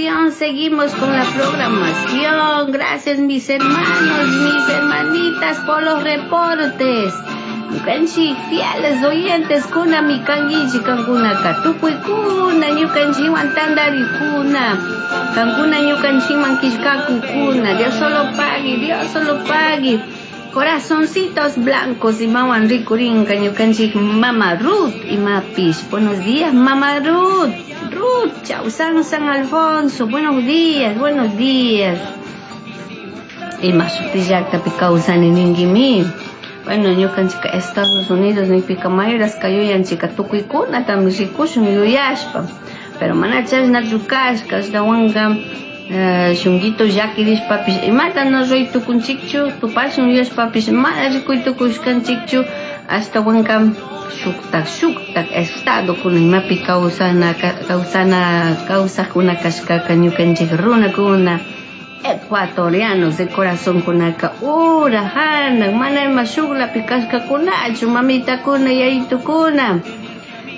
programación, seguimos con la programación. Gracias, mis hermanos, mis hermanitas, por los reportes. Ñukanchik fieles oyentes kunami kankichik kankunaka tukuykuna ñukanchikwan tantarikuna kankuna ñukanchikman killkakukuna. Dios solo pague, Dios solo pague. Corazoncitos blancos imawan rikurinka ñukanchik Mama Ruth imapish. Buenos días, Mama Ruth. Ruth, Chausan San Alfonso. Buenos días, buenos días. Ima shuti llaktapi kawsani ninkimi. Bueno, ñukanchika Estados Unidos nipika mayrashka yuyanchika tukuykunatami rikushun yuyashpa. Pero mana chashnachu kashka, ashtawanka shunguito llakirishpapish imata no ruray tukunchikchu, tupashun yuyashpapish mana rikuy tukushkanchikchu, ashtawanka shuktak shuktak estadokuna imapi kawsana kawsana kawsakuna kashkaka ñukanchik runakuna ecuatorianos de corazón kunaka ura hanak mana ima shuklapi kashkakunachu mamitakuna yayitukuna.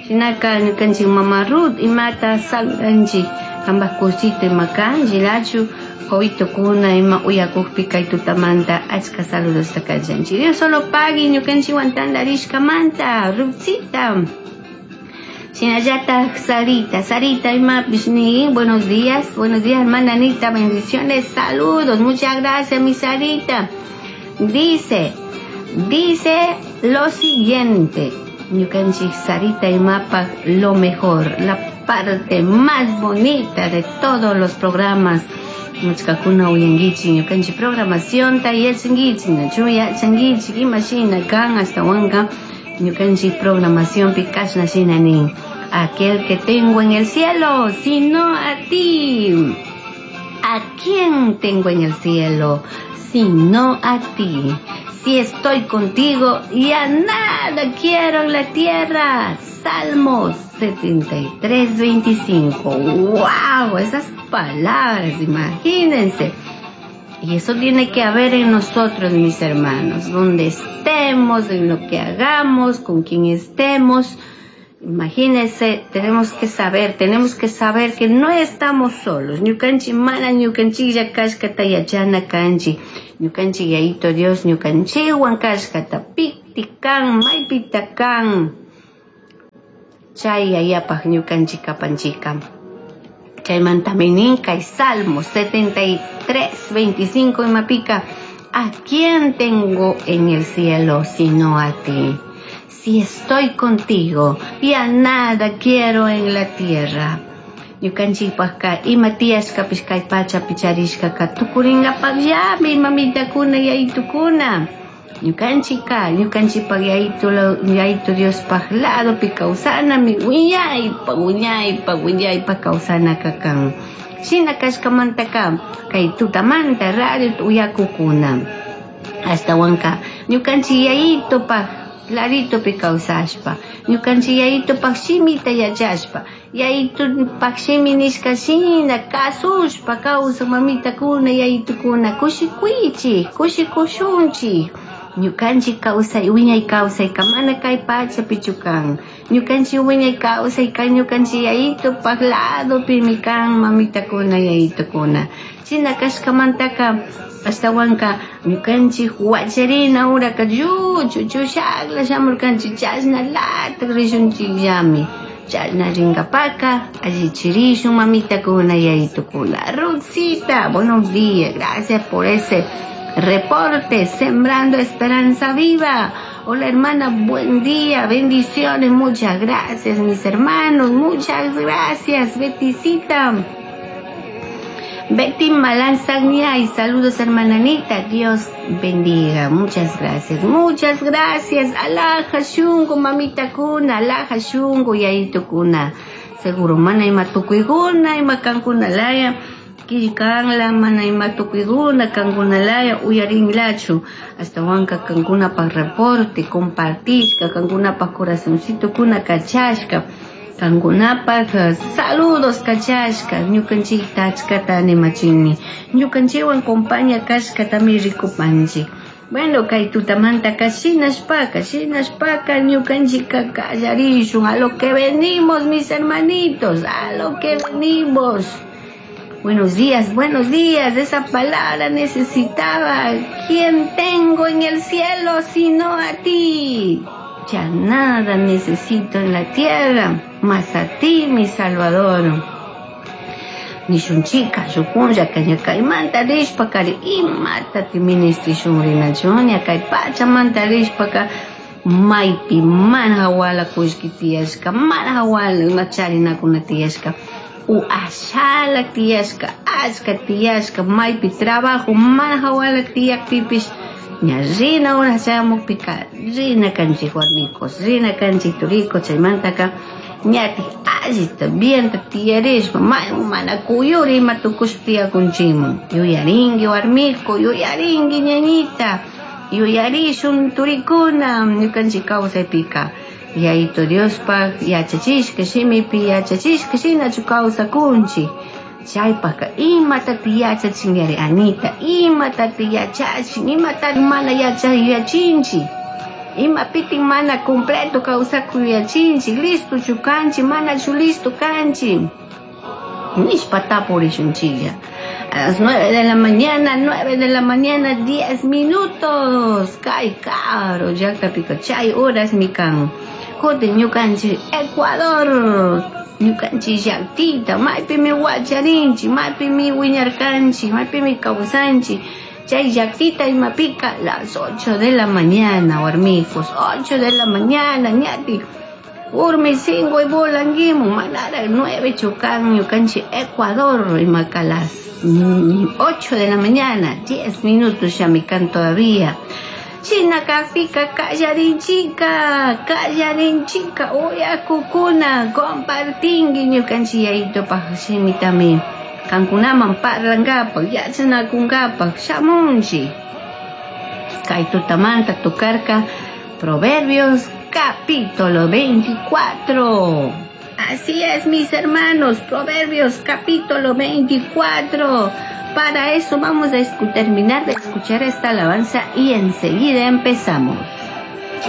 Shinaka ñukanchik Mama Ruth imata saludanchik kanpak kusito ima kan shinachu kawitokuna ima uyakukpi kay tutamanta achka saludosta kachanchik. Dios solo pagui ñukanchikwan tantarishkamanta Ruthcita. Shinallatak Sarita, Sarita imapish ni, buenos días, hermana Anita, bendiciones, saludos, muchas gracias, mi Sarita. Dice, dice lo siguiente, ñukanchik Sarita imapa lo mejor, la parte más bonita de todos los programas. Muchkakuna uyankichik ñukanchik programación ta yachankichik, nachu yachankichik, imashina kan ashtawanka ñukanchik programación pi kashna shina nin. Aquel que tengo en el cielo, sino a ti. ¿A quién tengo en el cielo, sino a ti? Si estoy contigo, ya nada quiero en la tierra. Salmos 73, 25. ¡Wow! Esas palabras, imagínense. Y eso tiene que haber en nosotros, mis hermanos, donde estemos, en lo que hagamos, con quien estemos. Imagínense, tenemos que saber que no estamos solos. Ñukanchik mana ñukanchiklla kashkata yachana kanchik. Ñukanchik yayito Dios ñukanchikwan kashkata pikti kan, maypita kan. Chay yayapaj ñukanchik kapanchika. Chaymantami nin kay Salmo 73, 25 imapika, ¿a quién tengo en el cielo sino a ti? Si estoy contigo, ya nada quiero en la tierra. Ñukanchikpajka ima tiyashkapish kay pachapi charishkaka tukuringapakllami mamitakuna yayitukuna. Ñukanchika, ñukanchikpak yayitu, yayitu Diospaj ladopi kawsanami wiñaypa, wiñaypa, wiñaypa kawsanaka kan. Shina kashkamantaka kay tutamanta radio uyakukuna. Ashtawanka ñukanchik yayitupaj laditopi kawsashpa, ñukanchik yayitupaj shimita yachashpa, yayitupaj shimi nishka shina kasushpa kawsak mamitakuna yayitukuna kushikuychik, kushikushunchik. Ñukanchik kawsay, wiñay kawsayka mana kay pachapichu kan. Ñukanchik wiñay kawsayka ñukanchik yayitupaj ladopimi kan mamitakuna yayitukuna. Shina kashkamantaka ashtawanka ñukanchik wacharina uraka lluchu chushakla shamurkanchik chashna latak rishunchikllami. Chashna ringapaka allichirishun mamitakuna yayitukuna. Ruthcita, buenos días, gracias por ese reporte, Sembrando Esperanza Viva. Hola hermana, buen día, bendiciones, muchas gracias mis hermanos, muchas gracias, Beticita. Betty Malanzagnia y saludos hermana Anita, Dios bendiga, muchas gracias, muchas gracias, alhaja shungu mamita kuna, alhaja shungu yayito kuna, seguro mana ima tukuyguna, ima kankuna laya, killkanla mana ima tukuyguna, kankuna laya, uyarinlachu, ashtawanka kankunapaj reporte, compartishka, kankunapaj corazoncito kuna kachashka, kankunapaj saludos kachashka, ñukanchikta achkata animachini, ñukanchikwan compañía kashkatami rikupanchik. Bueno, kay tutamanta shinashpaka, shinashpaka, ñukanchika kallarishun, a lo que venimos, mis hermanitos, a lo que venimos. Buenos días, buenos días. Esa palabra necesitaba. ¿Quién tengo en el cielo sino a ti? Ya nada necesito en la tierra, más a ti, mi Salvador. Nishunchika, shukunlla kaymanta rishpaka imatati ministrishun rinachun kay pachamanta rishpaka maypi mana hawala kullki tiyashka, mana hawala ima charinakuna tiyashka, u ashala tiyashka, achka tiyashka, maypi trabajo mana hawala tiyakpipish ña rina hora chayamukpika rina kanchik warmikos, rina kanchik turikos, chaymantaka ñatik allita bienta tiyarishpa mana kuyuri ima tukushpa tiyakunchikman. Yuyarinki warmiku, yuyarinki ñañita, yuyarishun turikuna ñukanchik kawsaypika. Yayito Diospaj yachachishka shimipi yachachishka shinachu kawsakunchik. Chaypaka imatati yachachinyari Anita, imatati yachachin, imatati mana yachachinchik. Imapitin mana completo kawsakuy yachinchik, listochu kanchik, manachu listo kanchik. Nishpa tapurishunchiklla. A las 9 de la mañana, 9 de la mañana, 10 minutos. Kay caro, llaqtapika chay horas mi kan. Kutin ñukanchik Ecuador, ñukanchik llaqtita, maypimi wacharinchik, maypimi wiñarkanchik, maypimi kawsanchik. Chay llaqtita imapika las 8 de la mañana, warmikos, 8 de la mañana, ñati. Urmi cinco y volanguimu, manara 9 chukan, ñukanchik Ecuador, imaka las 8 de la mañana, 10 minutos ya me can todavía. China kafika kallarinchika, kallarinchika, uyakukuna, compartingi ñukanchik yayito paj shimitami. Kankunaman parlankapak, yachanakunkapak, shamunchik. Kay tutamanta tocarka Proverbios capítulo 24. Así es, mis hermanos, Proverbios capítulo 24. Para eso vamos a terminar de escuchar esta alabanza y enseguida empezamos.